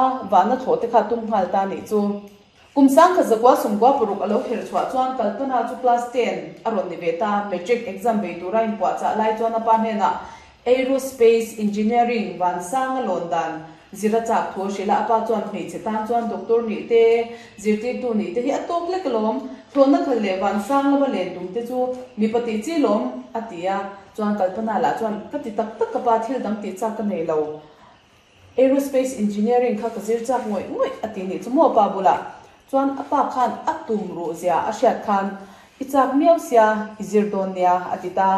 A, vahna thlawh te kha tum nghal ta nih chu. Kum 1996 a lo kher chhuah chuan Kalpana chu class 10 a rawn ni ve ta. Matric exam bei tura inpuahchah lai chuan a pa hnenah Aerospace Engineering vansang a lawn dan zir a chak thu a hrilh a, a pa chuan hmeichhe tan chuan doctor nih te, zirtirtu nih te hi a tawk lek alawm, thlawhna khal leh vansang lama len tum te chu mipa tih chi lawm a ti a, chuan Kalpana lah chuan ka ti tak tak ka pa thil dang tih chak ka nei lo. Aerospace Engineering kha ka zir chak ngawih ngawih a ti nih chu maw pa bulah chuan a pa khan a tum ruh zia a hriat khan i chak miau sia i zir dawn nia a ti ta.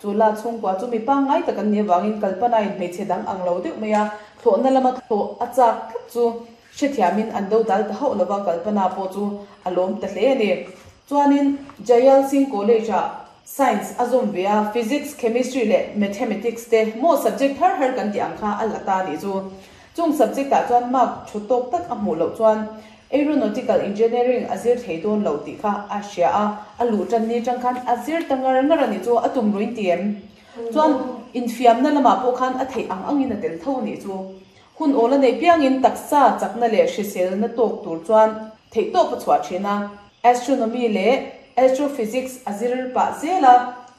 Chu la chhungkua chu mi pangngai tak an nih avangin Kalpana-in hmeichhe dang ang lo deuh mai a, thlawhna lama thlawh a chak tlat chu hrethiamin an do dal ta hauh lova Kalpana pawh chu a lawm ta hle a ni. Chuanin Jayal Singh College-ah Science a zawm ve a, Physics, Chemistry leh Mathematics te maw subject har har kan tih ang kha a la ta nih chu. Chung subject ah chuan mark thu tawk tak a hmuh loh chuan Aeronautical Engineering a zir thei dawn lo tih kha a hria a, a luh tan ni tang khan a zir ta ngar ngar a nih chu, a tum ruin ti em? Chuan infiamna lamah pawh khan a theih ang angin a tel tho a nih chu. Hun awl a neih piangin taksa chakna leh hriselna tawk tur chuan theihtawp a chhuah thin a. Astronomy leh Astrophysics a zir pah zel a,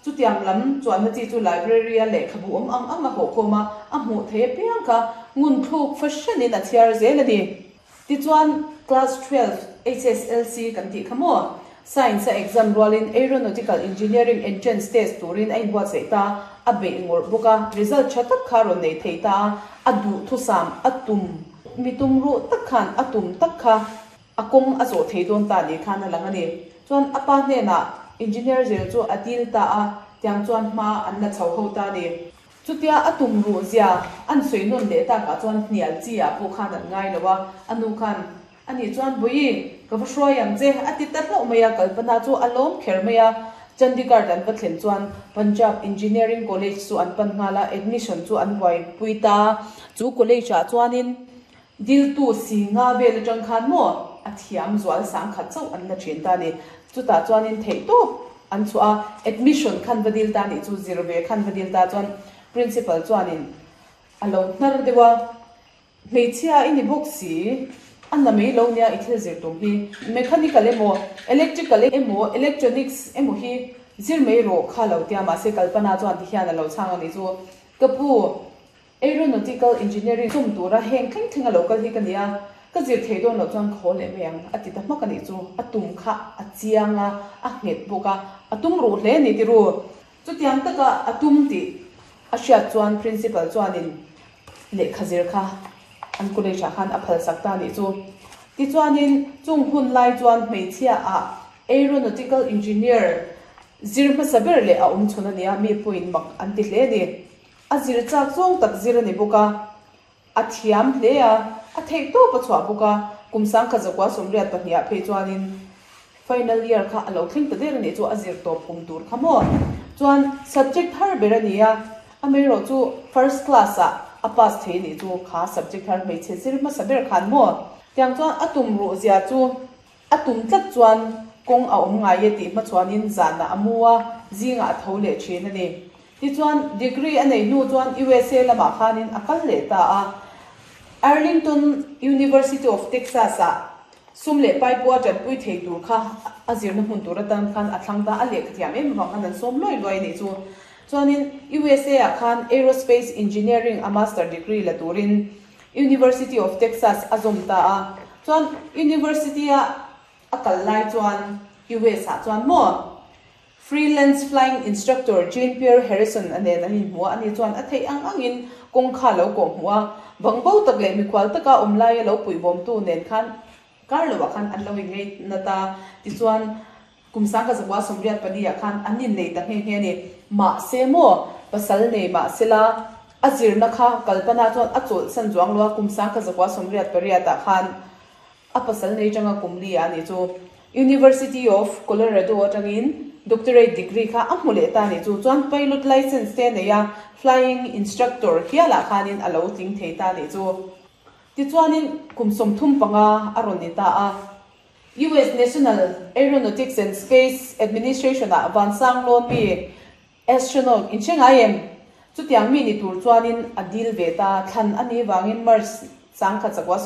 chutiang lam chuanna chi chu library-a lehkhabu awm ang ang a hawhkhawm a, a hmuh thei apiang kha ngunthluk fahranin a chhiar zel a ni. Tichuan, Class 12 HSLC kan tih kha maw? Science-a exam rualin Aeronautical Engineering entrance test turin a inbuatsaih ta, a beih ngawrh bawk a, result tha tak kha a rawn nei thei ta a, a duhthusam a tum mi tum ruh tak khan a tum tak kha. A kawng a zawh thei dawn ta ni khan a lang a ni. Chuan a pa hnenah engineer zel chu a dil ta a, tiang chuan hma an la chho ho ta a ni. Chutia a tum ruh zia an sawi nawn leh takah chuan hnial chi ah pawh khan an ngai lo a, a nu khan a nih chuan Bawihi, ka va hruai ang che a ti ta hlauh mai a, Kalpana chu a lawm kher mai a. Chandigarh an va thlen chuan Punjab Engineering College chu an pan nghal a, admission chu an buaipui ta. Chu college ah chuanin Diltu si nga vel atang khan maw a thiam zual 10,000 chauh an la thin ta a ni. Chutah chuanin theihtawp an chhuah a, admission khan va dil ta a nih chu, zir ve khan va dil ta chuan principal chuanin a lo hnar deuh a, Hmeichhia i ni bawk si, a na mai lo nia i thil zir tum hi, mechanical emaw, electrical emaw, electronics emaw hi zir mai rawh kha lo tia, mahse Kalpana chuan tihian a lo chhang a nih chu, Ka pu, Aeronautical Engineering tum tura heng thleng thleng a lo kal hi ka nia, ka zir thei dawn loh chuan ka haw leh mai ang a ti ta hmak a nih chu. A tum kha a chiang a, a nghet bawk a, a tum ruh hle a ni ti ru. Chutiang taka a tum tih a hriat chuan Principal chuanin lehkha zir kha an college ah khan a phalsak ta a nih chu. Tichuanin chung hun lai chuan hmeichhia ah Aeronautical Engineer zir hmasa ber leh a awm chhun a nia, mi pawhin mak an ti hle a ni. A zir chak zawng tak zir a ni bawk a, a thiam hle a, a theih tawp a chhuah bawk a, kum 1982 ah phei chuanin final year kha a lo thleng ta der a nih chu, a zir tawp kum tur kha maw? Chuan subject thar ber a ni a, amaherawh chu first class ah a pass thei a nih chu, kha subject thar hmeichhe zir hmasa ber khan maw? Tiang chuan a tum ruh zia chu A tum tlat chuan kawng a awm ngai e tih hmachhuanin zanah a mu a, zingah a tho leh thin a ni. Tichuan, degree a neih hnu chuan USA lamah khanin a kal leh ta a. Arlington University of Texas-ah sum leh pai pawh a tanpui thei tur kha a zirna hmun tur atan khan a thlang ta a, lehkha thiam em avang khan an sawm luai luai a nih chu. Chuanin USA-ah khan Aerospace Engineering a master degree la turin University of Texas a zawm ta a, chuan University a a kal lai chuan US ah chuan maw Freelance flying instructor Jean Pierre Harrison a nen an inhmu a, ani chuan a theih ang angin kawng kha a lo kawh hmuh a, bangbo tak leh mikhual taka awm laia lo puihbawmtu nen khan kar loah khan an lo inngeih nat a, tichuan Kum 1984 ah khan an innei ta nghe nghe a ni. Mahse maw, pasal nei mah sela, a zirna kha Kalpana chuan a chawlhsan zuang lo a, kum 1988 ah khan a pasal nei tanga kum li ah a nih chu. University of Colorado atangin doctorate degree kha a hmu leh ta a nih chu. Chuan pilot license te a nei a, flying instructor hialah khanin a lo tling thei ta a nih chu. Tichuanin kum 35 a rawn ni ta a. US National Aeronautics and Space Administration-ah vansang lawn mi astronaut in hre ngai em? Chutiang mi ni tur chuanin a dil ve ta. Thlan a nih vangin March 1995.